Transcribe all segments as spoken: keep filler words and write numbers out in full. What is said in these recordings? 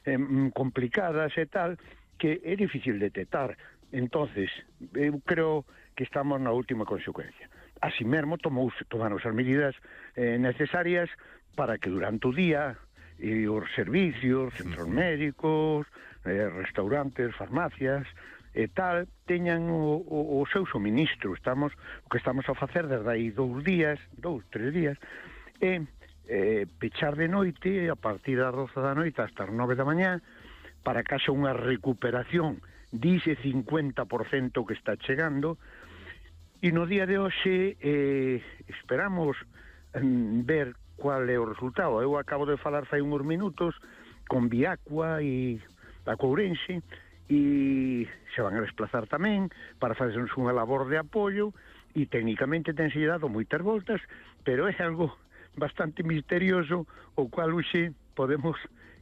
eh, complicadas e tal, que é difícil detectar. Entonces, eu creo que estamos na última consecuencia. Así mesmo tomouse, tomaron as medidas eh, necesarias para que durante o día e os servicios, centros médicos, eh, restaurantes, farmacias e tal, teñan o, o, o seu suministro. Estamos, o que estamos a facer desde aí dous días, dous, tres días, é eh, pechar de noite a partir das doce da noite hasta as nove da mañá para que haxa unha recuperación dice cincuenta por cento que está chegando, e no día de hoxe eh, esperamos mm, ver cual é o resultado. Eu acabo de falar fai uns minutos con Viacua e a Courense, e se van a desplazar tamén para facernos unha labor de apoio, e técnicamente tense dado moitas voltas, pero é algo bastante misterioso, o cual hoxe podemos,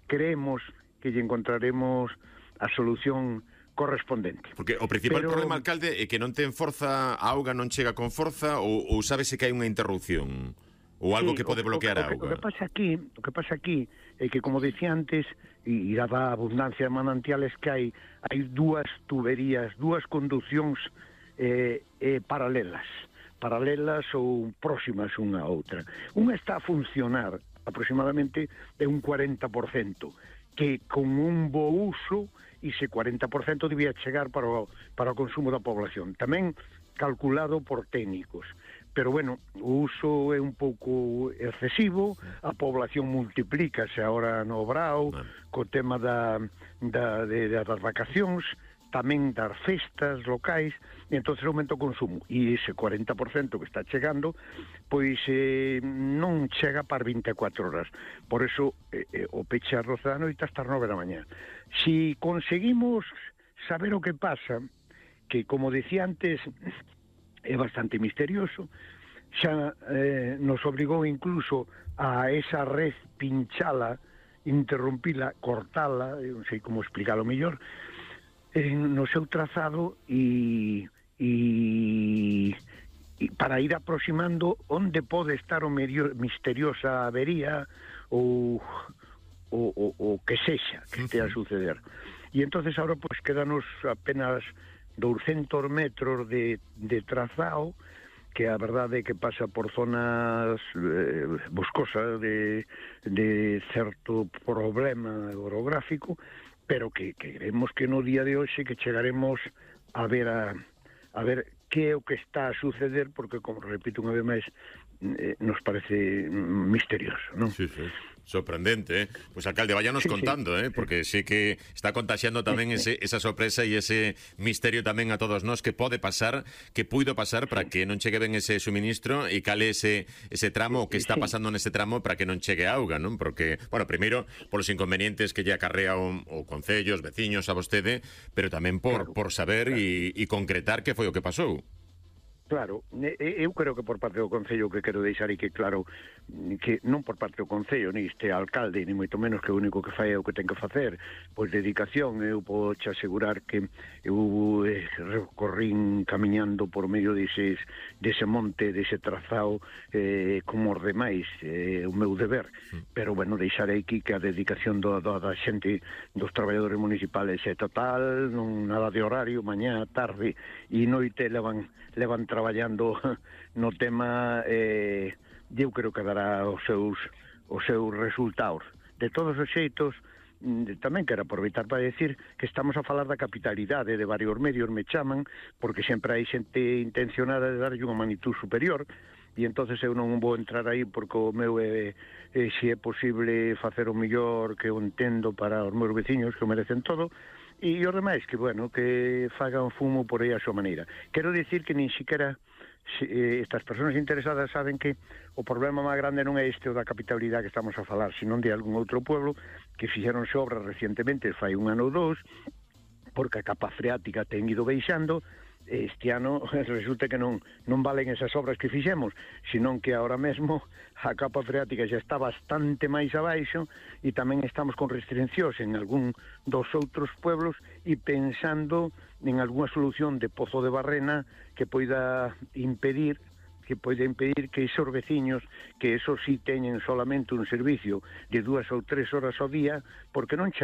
creemos que lle encontraremos a solución correspondente. Porque o principal pero... problema, alcalde, é que non ten forza, a auga non chega con forza, ou, ou sábese que hai unha interrupción? Ou algo sí, que pode bloquear a auga. auga. O que pasa aquí, o que pasa aquí é que, como dicía antes, e dada a abundancia de manantiales que hai, hai dúas tuberías, dúas conducións eh, eh, paralelas, paralelas ou próximas unha a outra. Unha está a funcionar aproximadamente de un cuarenta por cento, que con un bo uso ese cuarenta por cento debía chegar para o, para o consumo da población. Tamén calculado por técnicos. Pero, bueno, o uso é un pouco excesivo, a población multiplícase agora no Brao, co tema da, da, de, das vacacións, tamén das festas locais, e entón aumenta o consumo. E ese cuarenta por cento que está chegando, pois eh, non chega para vinte e catro horas. Por eso, eh, o peche ás doce da noite hasta as nove da mañá. Si conseguimos saber o que pasa, que, como decía antes, é bastante misterioso, xa eh, nos obrigou incluso a esa red pinchala, interrumpila, cortala, non sei como explicarlo mellor, eh, no seu trazado e, e, e para ir aproximando onde pode estar o medio, misteriosa avería ou o, o, o que sexa que estea a suceder. E entonces agora pues quedanos apenas douscentos metros de, de trazado, que a verdade é que pasa por zonas eh, boscosas de, de certo problema orográfico, pero que, que creemos que no día de hoxe que chegaremos a ver a, a ver que é o que está a suceder, porque, como repito unha vez máis, eh, nos parece misterioso, non? Sí, sí. Sorprendente, ¿eh? Pues, alcalde, váyanos sí, contando, sí. ¿eh? Porque sé que está contagiando tamén ese, esa sorpresa e ese misterio tamén a todos nós que pode pasar, que puido pasar para que non chegue ben ese suministro e cale ese, ese tramo, o que está pasando nese tramo para que non chegue auga, non? Porque, bueno, primeiro, polos inconvenientes que lle acarrea o, o concello, os veciños, a vostede, pero tamén por, claro, por saber e claro. concretar que foi o que pasou. Claro, eu creo que por parte do Concello, que quero deixar e que claro, que non por parte do Concello, ni este alcalde, ni moito menos, que o único que fai é o que ten que facer, pois dedicación. Eu podo te asegurar que eu eh, recorrín camiñando por medio deses, dese monte, dese trazado, eh, como os demais, eh, o meu deber. Pero, bueno, deixarei aquí que a dedicación do, do, da xente, dos traballadores municipales é total, non nada de horario, mañá, tarde e noite levan levan traballando no tema, eh, eu creo que dará os seus os seus resultados. De todos os xeitos, tamén quero aproveitar para decir que estamos a falar da capitalidade, de varios medios me chaman, porque sempre hai xente intencionada de darlle unha magnitud superior, e entonces eu non vou entrar aí porque o meu é, é se é posible facer o mellor que eu entendo para os meus veciños, que o merecen todo, e os demais que, bueno, que fagan fumo por aí a súa maneira. Quero dicir que nin siquiera eh, estas persoas interesadas saben que o problema máis grande non é este o da capitalidade que estamos a falar, senón de algún outro pueblo que fixeronse obras recientemente, fai un ano ou dous, porque a capa freática ten ido baixando. Este ano resulta que non non valen esas obras que fixemos, senón que ahora mesmo a capa freática xa está bastante máis abaixo e tamén estamos con restriccións en algún dos outros pueblos e pensando en algunha solución de pozo de barrena que poida impedir que pode impedir que esos veciños, que esos sí teñen solamente un servicio de dúas ou tres horas ao día, porque non